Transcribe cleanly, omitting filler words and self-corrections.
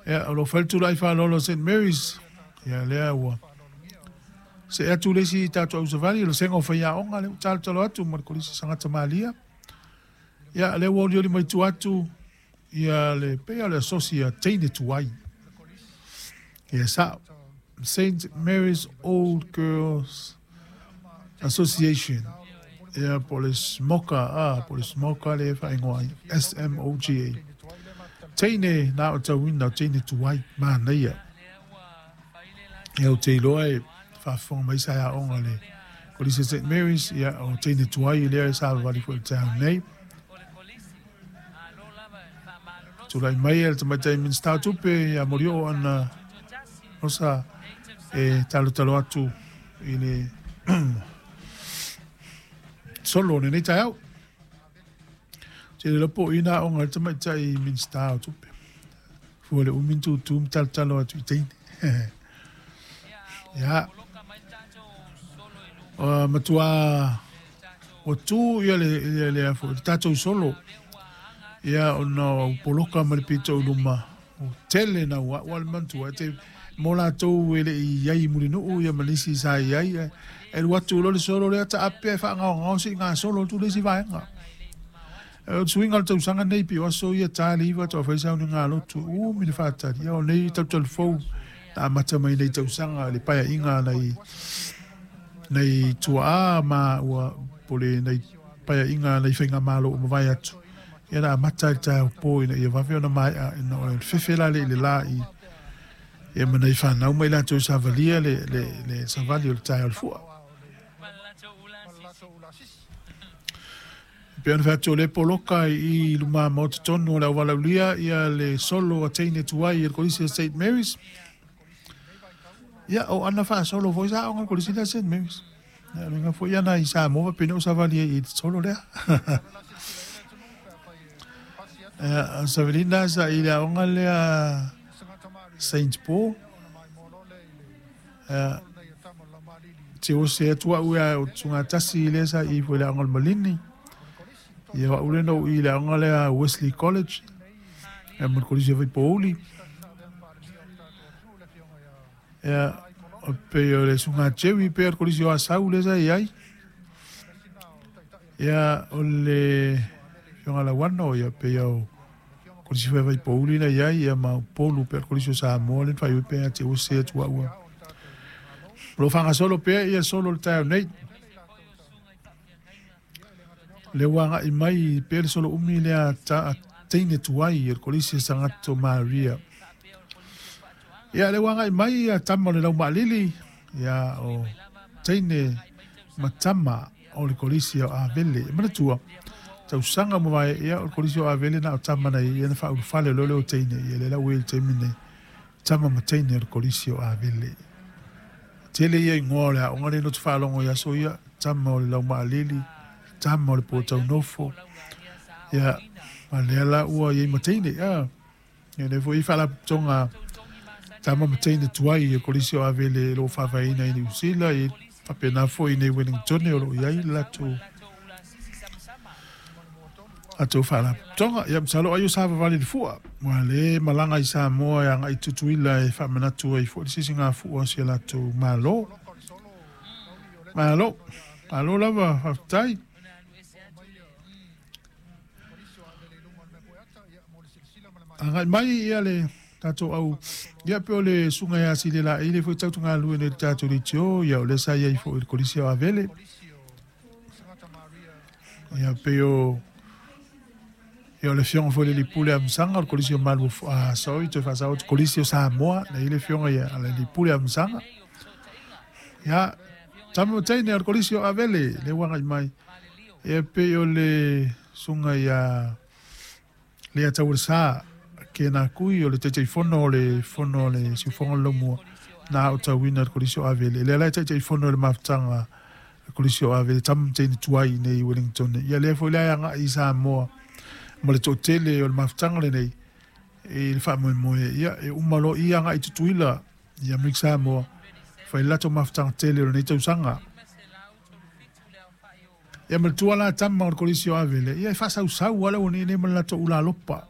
Ia, o lo o fai le tula'i faaaloalo a St Mary's, ia lea ua see atu le isi tatou ausavali, o le sega o faiaoga lea ua talotalo atu ma le Kolisi Sagata Malia. Ia, lea ua olioli mai tua atu ia le pei o le asosi a teine tuai. Ia sa'o, St Mary's Old Girls Association. Ia, po o le SMOGA, a, po o le SMOGA lea e faaigoa ai, SMOGA. Teine na aotauina, o teine tuai, manaia. Ia, ou te iloa e faafofoga mai sa aoga le Kolisi St Mary's, ia, o teine tuai lea e savavali foi i le taeao nei. Tulai mai le tamaitai Minisita o Tupe ia Molioo Ana Rosa e talotalo atu i le solo o lenei taeao. Te le po ina aoga le tamaitai Minisita o Tupe. Fua le umi tūtū ma talotalo atu i teine. Ia. O matua ua tu ia le afo le tatou solo. Ia ona o poloka ma le pito i luma o tele na ua ua le mantua te mo latou e le i ai i Mulinuu ia ma nisi sa i ai e alu atu loa le solo lea taape e faagaogao se i gasolo atu le isi vaega. O le suiga o le tausaga nei pei o aso ia ta le 9 tau fai sauniga lotu umi le faatali. Ia o nei talutalufou na amata mai nei tausaga le paeaiga nai tuaa ma ua po le nai paeaiga nai faigamalo ua mavae atu. Ia na amata i le taeao po ina ia vave ona maea ina o le fefe la le i le la i ia ma nai fanau mai latou savalia le savali o le taeao o le fua. Pe ona fai atu o le poloka i luma maota tonu o le auvalaulia ia le solo a teine tuai i le Kolisi o St Mary's. Ia o ana faasolo foi sa aoga le Kolisi lea St Mary's. Ia luga foi ana i Samoa faapena o savali ai i le solo lea. Ia Savelina sa i le aoga lea St Paul. Ia te o se atu au ia o tugatasi lea sa i foi le aoga o le Malini. Ia au le no i le aoga lea Wesley College. Ia ma le Kolisi o Vaipouli. Ia o pe o le suga Jerry pe o le Kolisi o Asau lea sa i ai. Ia o le fioga lauano ia pe o Kolisi foi Vaipouli na i ai ia ma Upolu pe o le Kolisi o Samoa le fai pe te o se atu au. Lo whangasolo pea ia solo le taeao nei. Le ua agai mai pea le solo umi lea ta teine tuai i le Kolisi Sangato Maria. Ia le ua agai mai ia tama o le Laumaalili ia o teine ma tama o le Kolisi o Avele. E manatua tausaga mavae ia o le Kolisi o Avele na o tama nei ia na faaulufale lea o teine ia le lau i le taimi nei tama ma teine o le Kolisi o Avele. Tele ia ingoa o le aoga le lotu faalogo i aso ia tama o le Laumaalili, tama o le Pōtaunofo. Ia, ma lea la ua iai ma teine. Ia, ia le foi faalapotopotoga tama ma teine tuai i le Kolisi o Avele o lo o faavaeina i Niu Sila, i faapena foi i nei Wellington o lo o i ai le latou faalapotopotoga. Ia, masalo ai o savavali le fua. Ua le malaga i Samoa e agai Tutuila e faamanatu ai foi le sisigafua o si a latou malo. Malo, malo lava, faafetai. Agai mai ia le tatou au ia pe o le suga ia sile la ile foi tautuga lue nei le tatou leitio ia o le sa iai foi le Kolisi o Avele. Ia pe o ia o le fioga foi le lipule a Masaga o le Kolisi o Malu a sorry toe faasao atu Kolisi o Samoa na i le fioga ia le lipule a Masaga. Ia tama ma teine o le Kolisi o Avele le ua agai mai. Ia pe o le suga ia lea taualesa ke nā kui o le Taitaifono o le fono o le siufogo o le laumua na o tauina le Kolisi o Avele. Lea la e Taitaifono le mafutaga le Kolisi o Avele tama ma teine tuai nei i Wellington. Ia lea foi lea agai i Samoa ma le toatele o le mafutaga lenei i le faamoemoe. Ia e uma loa ia agai i Tutuila ia Amerika Samoa fai le latou mafutaga tele o lenei tausaga. Ia ma le tua la tama o le Kolisi o Avele, ia e faasausau lava le aualii nei ma le latou ulalopa.